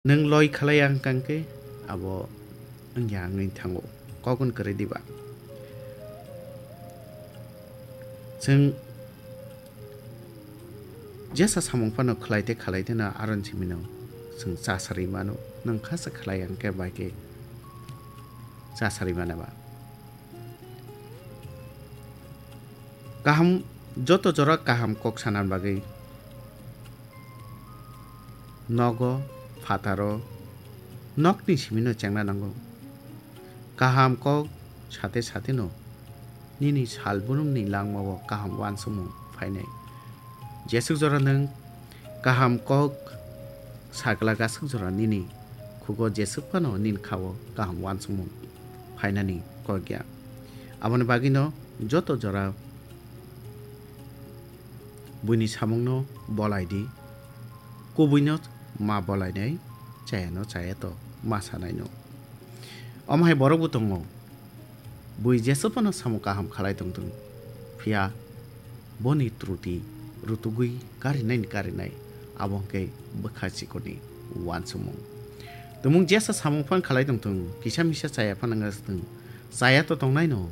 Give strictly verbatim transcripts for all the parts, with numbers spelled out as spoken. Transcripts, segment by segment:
Nwng loi khlai ang kang khe abo wngya wngwi thango. Kok wng kwrwi diba? Chwng jesa samung phano khlai tei khlai tei no aron simi no chwng cha sarwi mano. Nwng kha se khlai ang khe bai khe cha sarwi mano ba? Kaham, joto jora kaham kok sana bagwi nogo, phataro, nokni simino chengna nango. Kaham kok sate sate no nini salbrumni langmao kaham uansukmung phainai. Jeswk jora nwng kaham kok sagla gaswk jora nini khugo jeswk phano nini khao kaham uansukmung phainani kok ya. Aboni bagwino joto jora buini samungno bolai di, kubuino ma bolainai, chayano chayato ma sanaino. Omo hai borokbo tongo, bui jeswk phano samung kaham khlai tongthung, phiya boni truti rutugwi karinaini karinai, abo hwnkhe bwkha chikorni uansukmung. Tumung jesa samung phano khlai tongthung, kisa misa chaya phano wngthung, chaya to tongnaino.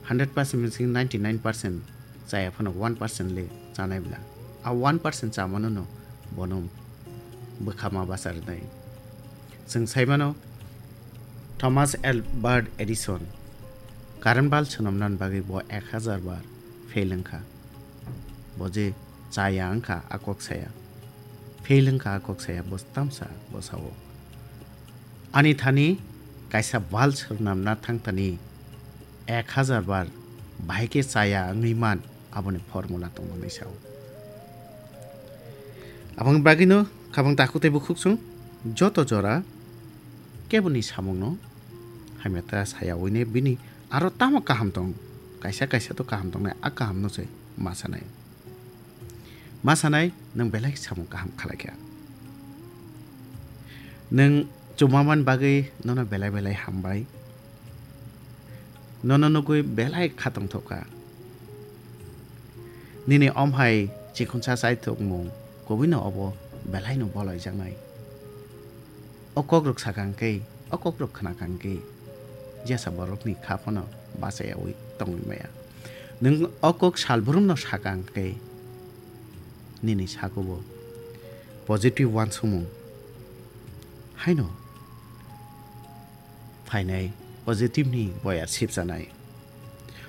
Hundred percent bising ninety nine percent chaya phano one percent le chanai bla. A one percent chamano no bono bwkha ma basa rwnai. Chwng saimano Thomas Albert Edison current bulb swnamnani bagwi bo ek hazar bar fail wngkha. Bo je chaya wngkha a kok saya. Fail wngkha a kok saya bo tamsa bo sao. Ani thani kaisa bulb swnamna thangthani ek hazar bar bahai khe chaya wngwi man, aboni formula tongo hinwi sao. Aboni bagwino khabang takhuk tei bukhuk chwng joto jora keboni samungno hamya ta saya wine bini aro tamo kaham tong, kaisa kaisa to kaham tongnai, a kahamno se ma sanai. Ma sanai, nwng belai samung kaham khlai kha. Nwng chuma man bagwi nono belai belai hambai. Nono nugwi belai khatong thok kha. Nini omhai chikhunsa chaithokmung kubuino obo belaino bolaijaknai. O kokrok sakang khe, o kokrok khwnakang khe, jesa borokni kha phano bachayawi tongwi maya. Nwng o kok salbrumno sakang khe, nini sakubo positive uansukmung haino phainai, positive ni boyar sipsanai.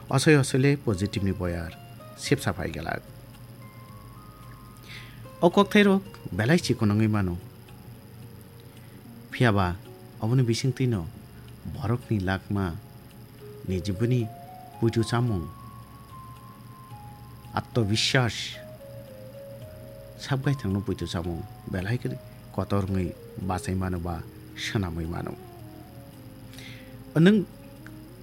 Osoi osoi le positive ni boyar sipsa phai glak. O kokthairok belai chikon wngwi mano. Phiya ba oboni bisingtwino borokni lakma ni jiboni puitu chamung, atmobiswas, sabgaithangno puitu chamung belai khe kotor wngwi bachai mano ba swnamwi mano. Nwng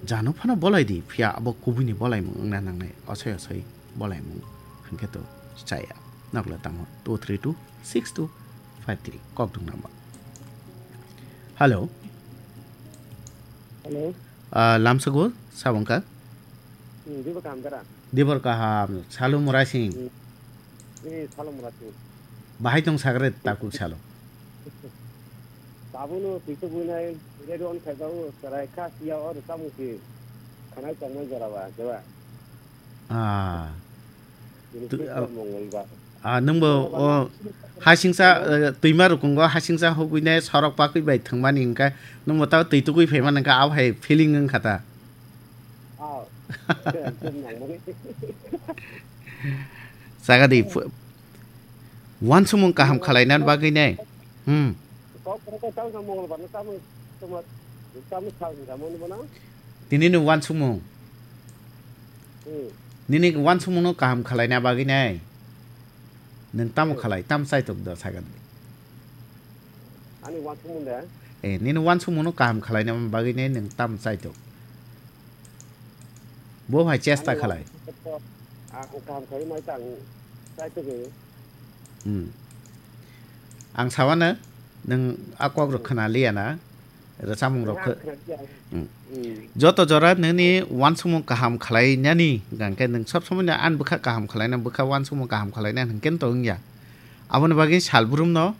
jano phano bolai di, phiya abo kubuini bolaimung wngna nangnai, osoi osoi bolaimung hwnkhe to chaya. Nokle tamo two three two six two five three kok dung number. Hello. Hello. Ah, lamsago sabangka. Hmm, dibo kaham dara? Dibor kaham, Salu Murasing. Hmm. Eh, Salu Murasing. Bahai tong sagre takuk salo. Tabukno twiso buinai radio on khaibao chwrai kha siya o rwchapmung si khanai tongmani jora ba, jeba. Ah. Bini Tu-, twiso ah, mongol ba. Ah, nwngbo o hasingsa, eh, twima rukungo hasingsa hugwinai sorok pakwi bai thwngmani hwnkhe nwngbo tao twi tugwi phaimani hwnkhe abo hai feeling wngkha ta. Ah. Ekdom nangmani. Sagadi phu-, uansukmung kaham khalaina bagwi nai. Hmm. Kok kok tamo mongol ba tamo tamo tamo sa tamo ni bono. Tini ni uansukmung. Hmm. Nini uansukmung no kaham khalaina bagwi nai. Nwng tamo khalai, tam chaitok da sagan. Ani uansukmung da? Eh, nini uansukmung no kaham khalaina bagwi nai nwng tam chaitok. Bo hai chesta khalai. Ang kaham khalai mai tang chaitok. Hmm. Ang sawano nwng a kok rok khna liya na. Rwchapmung rok khe, hmm. Joto jora nini uansukmung kaham khwlainani hwnkha khe nwng sob somoi no ani bwkha kaham khwlaina, bwkha uansukmung kaham khwlaina hwnkhe to wngya. Aboni bagwi salbrum no